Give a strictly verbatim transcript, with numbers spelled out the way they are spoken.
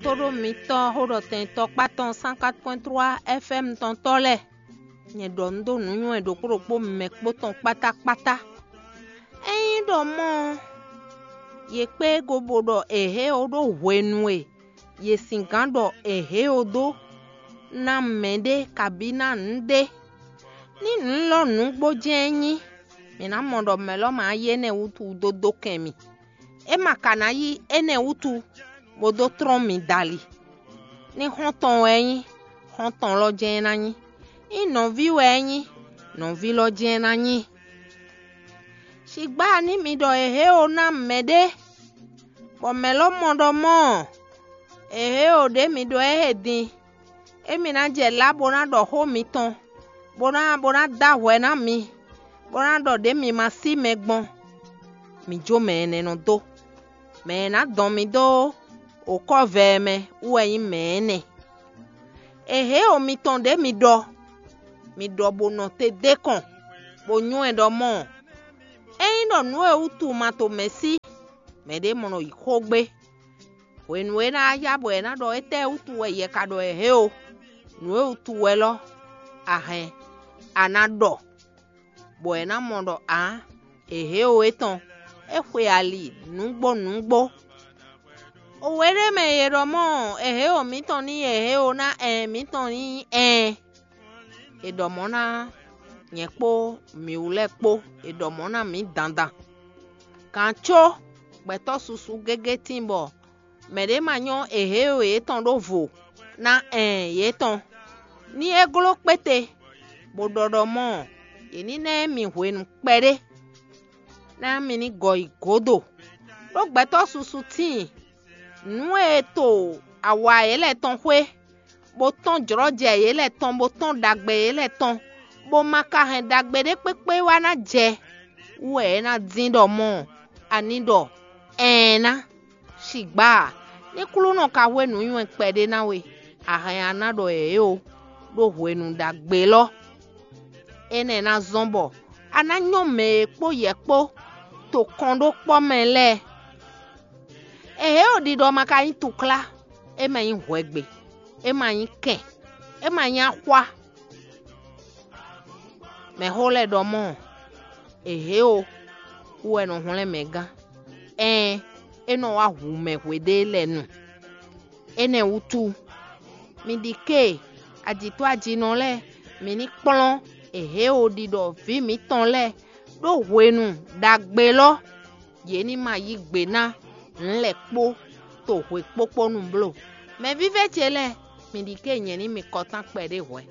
Tóɖó mitɔ́ xóɖɔtɛn tɔkpá tɔn cent quatre point trois F M tɔn tɔ́ lɛ́ɛ, nyɛ ɖɔ nǔ dó nǔnywɛ́ ɖokpó ɖokpó mɛ kpó tɔn kpátákpátá. Ényí ɖɔ mɔ̌ ɔ́, yě kpé go bo ɖɔ èhě ó ɖó hwenu e yě singán ɖɔ èhě ó dó ná mɛɖé kabí ná nǔɖé. Ní nǔ lɔ nǔgbó jɛ́n é nyí, mǐ ná mɔ ɖɔ mɛ̌ lɔ ma yí énɛ́ wútu dó dó kɛn mì. É ma ka ná yí énɛ́ wútu bó dó tlɔ́n mi dali. Ní xɔ́ntɔn wɛ é nyí, xɔ́ntɔn lɔ jɛ́n é ná nyí. Ní nɔví wɛ é nyí, nɔví lɔ jɛ́n é ná nyí. Sigbá ní mi ɖɔ èhě ó ná mɛɖé, bɔ mɛ̌ lɔ mɔ ɖɔ mɔ̌ ɔ́, èhě ó ɖě mi ɖɔ ɛ he din. Émí ná jɛ lá bó ná ɖɔ xó mitɔn, bó ná bó ná dó ahwɛ ná mi, bó ná ɖɔ ɖě mi ma sí mɛ gbɔn. Mi jó mɛ énɛ́ nɔ dó. Mɛ e ná dɔn mi dó okɔ́vɛ ɛ mɛ wú wɛ nyí mɛ énɛ́. Èhě o mitɔn ɖě mi ɖɔ, mi ɖɔ bó nɔ te d'é kɔn, bó nywɛ́ ɖɔ mɔ̌ ɔ́, ényí ɖɔ nǔ e wútu ma to mɛ̌ sí, mɛɖé mɔ nɔ yi xó gbé. Hwenu e é ná yá bɔ è nǎ ɖɔ étɛ́ wútu wɛ yɛ ka ɖɔ èhě o, nǔ e wútu wɛ lɔ a hɛn a ná ɖɔ, bɔ è nǎ mɔ ɖɔ ǎ, èhě o étɔn, é xwe ali nǔgbó nǔgbó. Owe ɖé mɛ è ɖɔ mɔ̌, èhě o mǐtɔn ní èhě o ná ɛn mǐtɔn ní ɛn. È ɖɔ mɔ̌ ná nyɛ kpó mǐwú lɛ́ɛ kpó, è ɖɔ mɔ̌ ná mǐ dandan. Gǎn có gbɛ̌tɔ́ susu gégé tíin bɔ mɛ̌ ɖě ma nyɔ́ èhě o yětɔn ɖó vo ná ɛn yětɔn. Ní é gló kpéte, bó ɖɔ ɖɔ mɔ̌, yě ní ná ɛ mi hwenu kpɛɖé, ná mi ní gɔ yi gǒdo. Ɖó gbɛ̌tɔ́ susu tíin, nǔ e to awa yě lɛ́ɛ tɔn xwé, bó tɔ́n jlɔ̌jɛ yě lɛ́ɛ tɔn, bó tɔ́n ɖagbe yě lɛ́ɛ tɔn, bó ma ka hɛn ɖagbe ɖé kpékpé wá ná jɛ wú wɛ é ná dín ɖɔ mɔ̌, a ní ɖɔ ɛɛn ná. Sigbá a, ní Klúnɔ ka hwé nǔnywɛ́ kpɛɖé ná we, a hɛn a ná ɖɔ yě ó, ɖó hwenu ɖagbe lɔ. Énɛ́ ná zɔ́n bɔ a ná nyɔ́ mɛ e kpó yɛ kpó to kɔn ɖó kpɔ́ mɛ lɛ́ɛ. Èhě o ɖiɖɔ ma ka nyí tuklá, é ma nyí hwɛgbe, é ma nyí kɛn, é ma nyí axwá. Mɛ̌xó lɛ́ɛ ɖɔ mɔ̌, èhě o wú wɛ nɔ hwlɛ́n mɛ gán. Ɛɛn, é nɔ wá hu mɛ hweɖée lɛ́ɛ nu. Énɛ́ wútu, mi ɖi ké ajǐtɔ́ ajinɔ lɛ́ɛ, mi ní kplɔ́n èhě o ɖiɖɔ vǐ mǐtɔn lɛ́ɛ ɖó hwenu ɖagbe lɔ, yě ní ma yí gbe ná nǔ lɛ́ɛ kpó to hwe kpókpó nu bló. Mɛvívɛ́ ce lɛ́ɛ, mi ɖi ké nyɛ ní mi kɔtán kpɛɖé hwɛ̌.